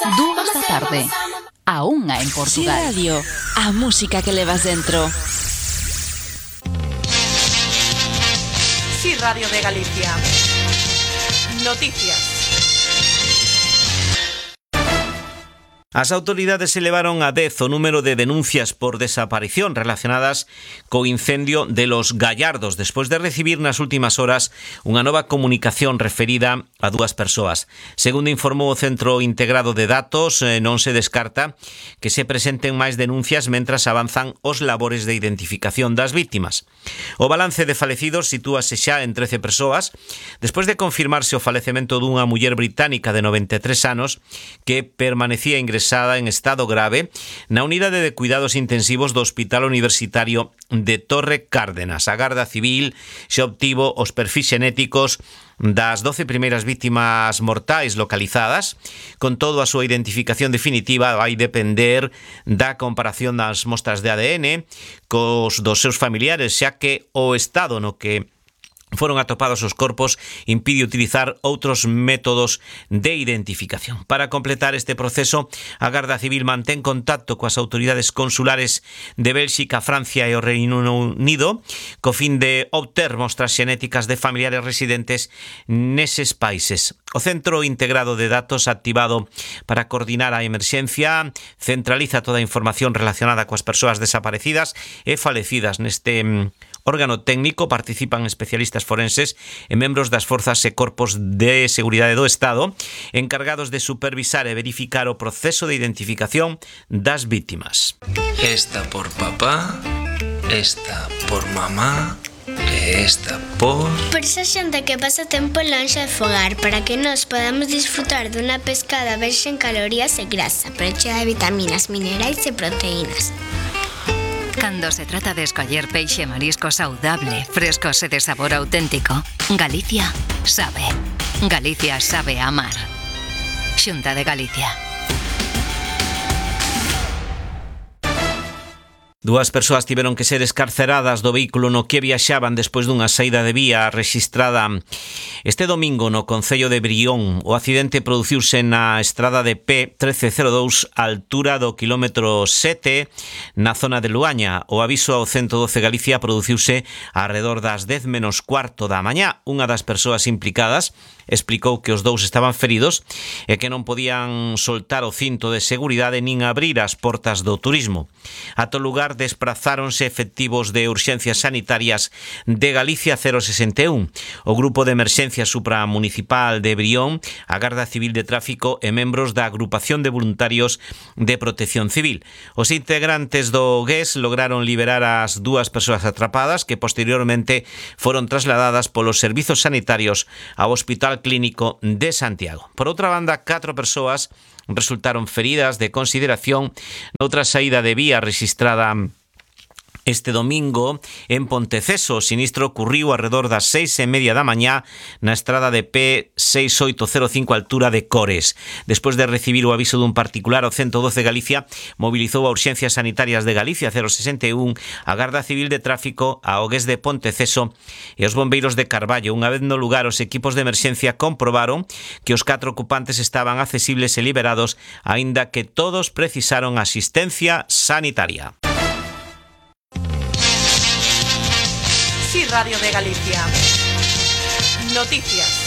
2 da tarde, a 1 en Portugal. Si Radio, a música que levas dentro. Si Radio de Galicia. Noticias. As autoridades elevaron a 10 o número de denuncias por desaparición relacionadas co incendio de Los Gallardos, despois de recibir nas últimas horas unha nova comunicación referida a 2 persoas. Segundo informou o Centro Integrado de Datos, non se descarta que se presenten máis denuncias mentras avanzan os labores de identificación das vítimas. O balance de falecidos sitúase xa en 13 persoas, despois de confirmarse o falecemento dunha muller británica de 93 anos que permanecía ingresada en estado grave na unidade de cuidados intensivos do Hospital Universitario de Torre Cárdenas. A Garda Civil xa obtivo os perfis xenéticos das 12 primeiras vítimas mortais localizadas. Con todo, a súa identificación definitiva vai depender da comparación das mostras de ADN cos dos seus familiares, xa que o estado no que foron atopados os corpos impide utilizar outros métodos de identificación. Para completar este proceso, a Garda Civil mantén contacto coas autoridades consulares de Bélxica, Francia e o Reino Unido co fin de obter mostras xenéticas de familiares residentes neses países. O Centro Integrado de Datos, activado para coordinar a emerxencia, centraliza toda a información relacionada coas persoas desaparecidas e falecidas. Neste órgano técnico participan especialistas forenses e membros das forzas e corpos de seguridade do Estado encargados de supervisar e verificar o proceso de identificación das vítimas. Esta por papá, esta por mamá e esta por... Por esa xente que pasa tempo lonxe de fogar, para que nos podamos disfrutar dunha pescada verxe en calorías e grasa, pero chea de vitaminas, minerais e proteínas. Cando se trata de escoller peixe e marisco saudable, frescos e de sabor auténtico, Galicia sabe. Galicia sabe amar. Xunta de Galicia. 2 persoas tiveron que ser escarceradas do vehículo no que viaxaban despois dunha saída de vía rexistrada este domingo no concello de Brión. O accidente produciuse na estrada de P1302 á altura do quilómetro 7 na zona de Luaña. O aviso ao 112 Galicia produciuse arredor das 10 menos cuarto da mañá. Unha das persoas implicadas explicou que os dous estaban feridos e que non podían soltar o cinto de seguridade nin abrir as portas do turismo. Ata o lugar desprazáronse efectivos de urxencias sanitarias de Galicia 061, o Grupo de Emerxencia Supramunicipal de Brión, a Garda Civil de Tráfico e membros da Agrupación de Voluntarios de Protección Civil. Os integrantes do GES lograron liberar as 2 persoas atrapadas que posteriormente foron trasladadas polos servizos sanitarios ao Hospital Clínico de Santiago. Por outra banda, 4 persoas resultaron feridas de consideración noutra saída de vía rexistrada este domingo en Ponteceso. O sinistro ocurriu arredor das 6:30 da mañá na estrada de P6805 altura de Cores. Despois de recibir o aviso dun particular, o 112 Galicia mobilizou a Urxencias Sanitarias de Galicia 061, a Garda Civil de Tráfico, a OGES de Ponteceso e os bombeiros de Carballo. Unha vez no lugar, os equipos de emerxencia comprobaron que os 4 ocupantes estaban accesibles e liberados, aínda que todos precisaron asistencia sanitaria. Si Radio de Galicia. Noticias.